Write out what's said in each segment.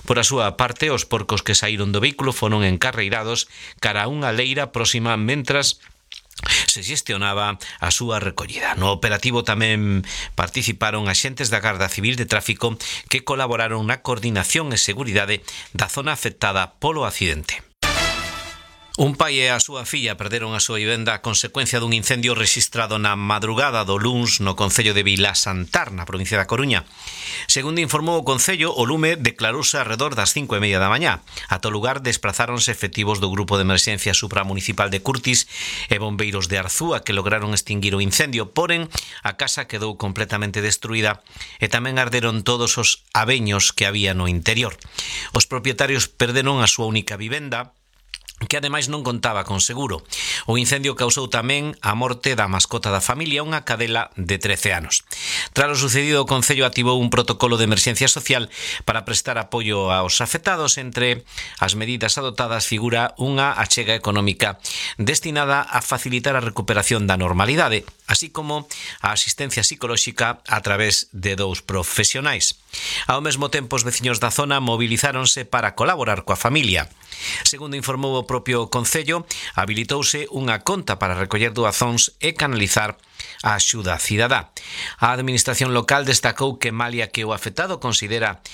Por a súa parte, os porcos que saíron do vehículo foron encarreirados cara a unha leira próxima mentras se xestionaba a súa recollida. No operativo tamén participaron axentes da Garda Civil de Tráfico que colaboraron na coordinación e seguridade da zona afectada polo accidente. Un pai e a súa filla perderon a súa vivenda a consecuencia dun incendio rexistrado na madrugada do luns no concello de Vilasantar, na provincia da Coruña. Segundo informou o concello, o lume declarouse arredor das 5:30 da mañá. Ata o lugar desprazáronse efectivos do Grupo de Emerxencia Supramunicipal de Curtis e bombeiros de Arzúa que lograron extinguir o incendio, porén a casa quedou completamente destruída e tamén arderon todos os abeños que había no interior. Os propietarios perderon a súa única vivenda, que ademais non contaba con seguro. O incendio causou tamén a morte da mascota da familia, unha cadela de 13 anos. Tras o sucedido, o Concello activou un protocolo de emerxencia social para prestar apoio aos afectados. Entre as medidas adoptadas figura unha achega económica destinada a facilitar a recuperación da normalidade, así como a asistencia psicolóxica a través de 2 profesionais. Ao mesmo tempo, os veciños da zona mobilizáronse para colaborar coa familia. Segundo informou o propio Concello, habilitouse unha conta para recoller doazóns e canalizar a axuda cidadá. A Administración local destacou que malia que o afectado considera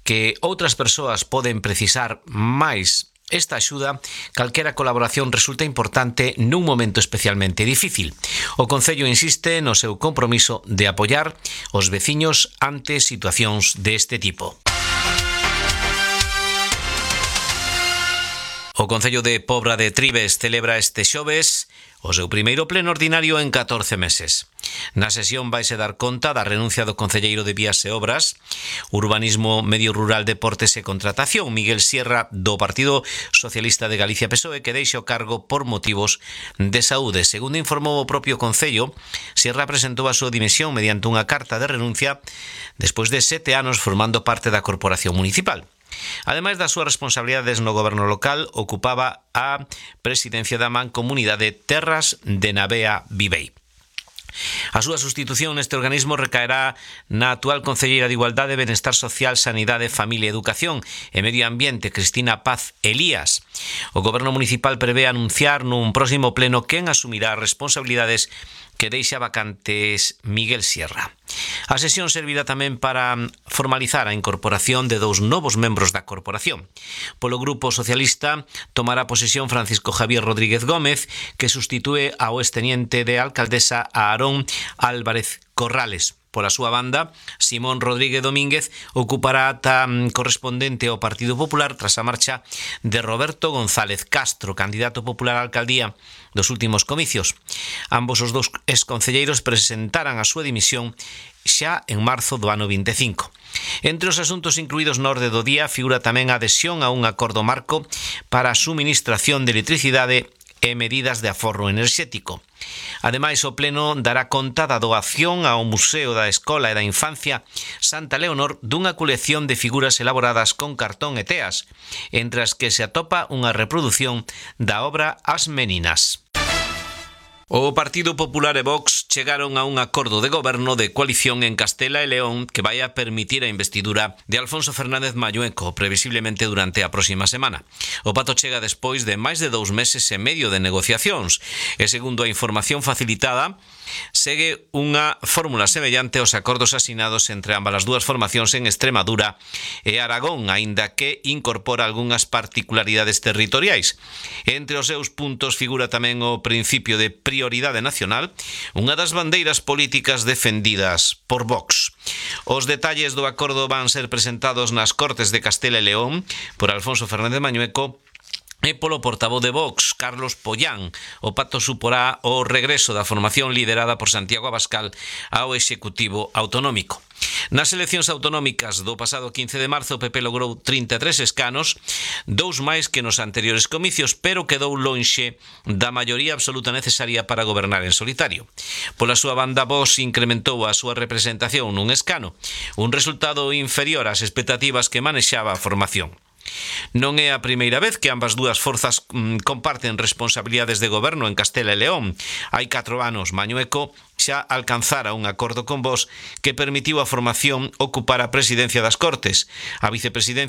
que outras persoas poden precisar máis esta axuda, calquera colaboración resulta importante nun momento especialmente difícil. O Concello insiste no seu compromiso de apoiar os veciños ante situacións deste tipo. O Concello de Pobra de Trives celebra este xoves o seu primeiro pleno ordinario en 14 meses. Na sesión vaise dar conta da renuncia do concelleiro de Vías e Obras, Urbanismo, Medio Rural, Deportes e Contratación, Miguel Sierra, do Partido Socialista de Galicia PSOE, que deixa o cargo por motivos de saúde. Segundo informou o propio Concello, Sierra presentou a súa dimisión mediante unha carta de renuncia despois de 7 anos formando parte da Corporación Municipal. Ademais das súas responsabilidades no goberno local, ocupaba a presidencia da Mancomunidade Terras de Navea Vivei. A súa sustitución neste organismo recaerá na actual concelleira de Igualdade, Benestar Social, Sanidade, Familia, Educación e Medio Ambiente, Cristina Paz Elías. O goberno municipal prevé anunciar nun próximo pleno quen asumirá as responsabilidades que deixa vacantes Miguel Sierra. A sesión servirá tamén para formalizar a incorporación de 2 novos membros da corporación. Polo Grupo Socialista tomará posesión Francisco Javier Rodríguez Gómez, que sustitúe ao exteniente de alcaldesa a Aarón Álvarez Corrales. Por a súa banda, Simón Rodríguez Domínguez ocupará a ata correspondente ao Partido Popular tras a marcha de Roberto González Castro, candidato popular á alcaldía dos últimos comicios. Ambos os 2 exconcelleiros presentaran a súa dimisión xa en marzo do ano 25. Entre os asuntos incluídos na orde do día figura tamén a adhesión a un acordo marco para a suministración de electricidade e medidas de aforro enerxético. Ademais, o Pleno dará conta da doación ao Museo da Escola e da Infancia Santa Leonor dunha colección de figuras elaboradas con cartón e teas, entre as que se atopa unha reproducción da obra As Meninas. O Partido Popular e Vox chegaron a un acordo de goberno de coalición en Castela e León que vai a permitir a investidura de Alfonso Fernández Mañueco, previsiblemente durante a próxima semana. O pacto chega despois de máis de 2 meses e medio de negociacións e, segundo a información facilitada, segue unha fórmula semellante aos acordos asinados entre ambas as 2 formacións en Extremadura e Aragón, aínda que incorpora algunhas particularidades territoriais. Entre os seus puntos figura tamén o principio de prioridade nacional, unha das bandeiras políticas defendidas por Vox. Os detalles do acordo van ser presentados nas Cortes de Castela e León por Alfonso Fernández Mañueco e polo portavoz de Vox, Carlos Pollán. O pacto suporá o regreso da formación liderada por Santiago Abascal ao Executivo Autonómico. Nas eleccións autonómicas do pasado 15 de marzo, o PP logrou 33 escanos, 2 máis que nos anteriores comicios, pero quedou lonxe da maioría absoluta necesaria para gobernar en solitario. Pola súa banda, Vox incrementou a súa representación nun escano, un resultado inferior ás expectativas que manexaba a formación. Non é a primeira vez que ambas 2 forzas comparten responsabilidades de goberno en Castela e León. Hai 4 anos, Mañueco xa alcanzara un acordo con Vox que permitiu a formación ocupar a presidencia das Cortes. A vicepresidencia